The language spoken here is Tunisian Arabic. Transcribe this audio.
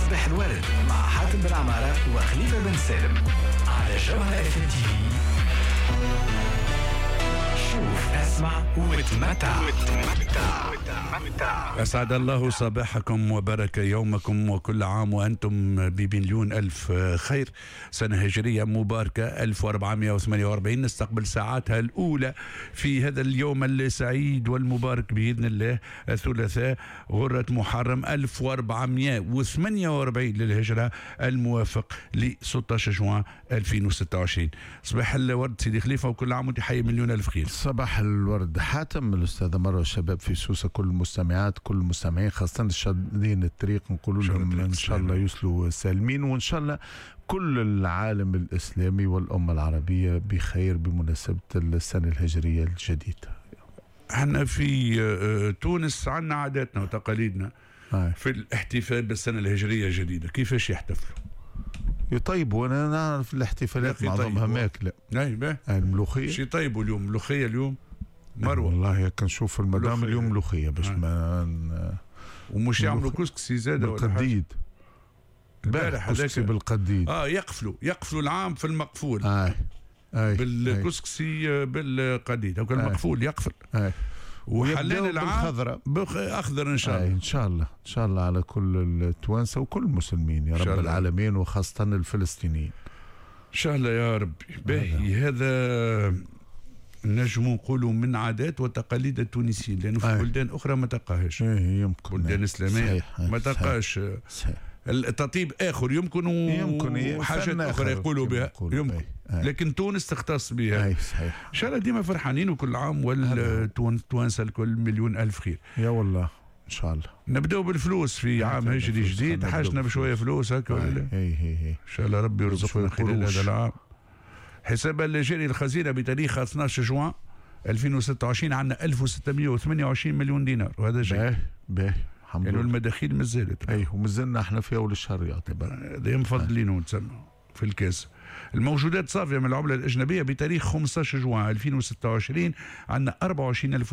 صباح الورد مع حاتم بن عمارة وخليفة بن سالم على جوهرة اف ام تي في. شوف، اسمع وتمتع. أسعد الله صباحكم وبارك يومكم، وكل عام وأنتم بمليون ألف خير. سنة هجرية مباركة 1448 نستقبل ساعاتها الأولى في هذا اليوم السعيد والمبارك بإذن الله، الثلاثاء غرة محرم 1448 للهجرة، الموافق ل 16 جوان 2026. صباح الورد سيدي خليفة، وكل عام وانت حي مليون ألف خير. صباح الورد حاتم، الأستاذة مروة، الشباب في سوسة، كل المستمعات، كل المستمعين، خاصة الشادين الطريق، نقول لهم إن شاء الله يوصلوا سالمين، وإن شاء الله كل العالم الإسلامي والأمة العربية بخير بمناسبة السنة الهجرية الجديدة. احنا في تونس عندنا عاداتنا وتقاليدنا في الاحتفال بالسنة الهجرية الجديدة. كيفاش يحتفلوا؟ يطيبوا، انا نعرف الاحتفالات معظمها ماكله. اي. الملوخيه. شي يطيبوا اليوم؟ ملوخية اليوم مروه. والله كنشوف المدام اليوم ملوخية باش ما ومش يعملوا كسكسي زاد؟ بالقديد. البارح كسكسي بالقديد. يقفلوا العام في المقفول. آي. بالكسكسي بالقديد، هو المقفول يقفل. وحلال العام بالخضرة. اخضر ان شاء الله. ان شاء الله، ان شاء الله على كل التوانسة وكل المسلمين يا رب العالمين، وخاصة الفلسطينيين. ان شاء الله يا ربي. باهي، هذا نجم نقولوا من عادات وتقاليد التونسيين، لانه في بلدان اخرى ما تلقاهاش. إيه يمكن. بلدان اسلامية ما تلقاش. التطيب اخر يمكن، يمكن وحاجات اخرى يقولوا بها يمكن. لكن تونس تختص بها. اي صحيح. ان شاء الله ديما فرحانين، وكل عام والتوانسه الكل مليون الف خير. يا والله ان شاء الله. نبداو بالفلوس في عام هجري جديد، حاجنا بشوية فلوس هكا ولا لا؟ اي. ان شاء الله ربي يرزقنا خلال هذا العام. حساب الجاري الخزينة بتاريخ 12 جوان 2026 عندنا 1628 مليون دينار، وهذا جيد. باهي باهي، الحمد لله. يعني المداخيل مازالت. اي، ومازلنا احنا في اول الشهر يعتبر. هذا مفضلين تسمى في الكاس. الموجودات صافية من العملة الاجنبية بتاريخ 15 جوان 2026 عندنا 24000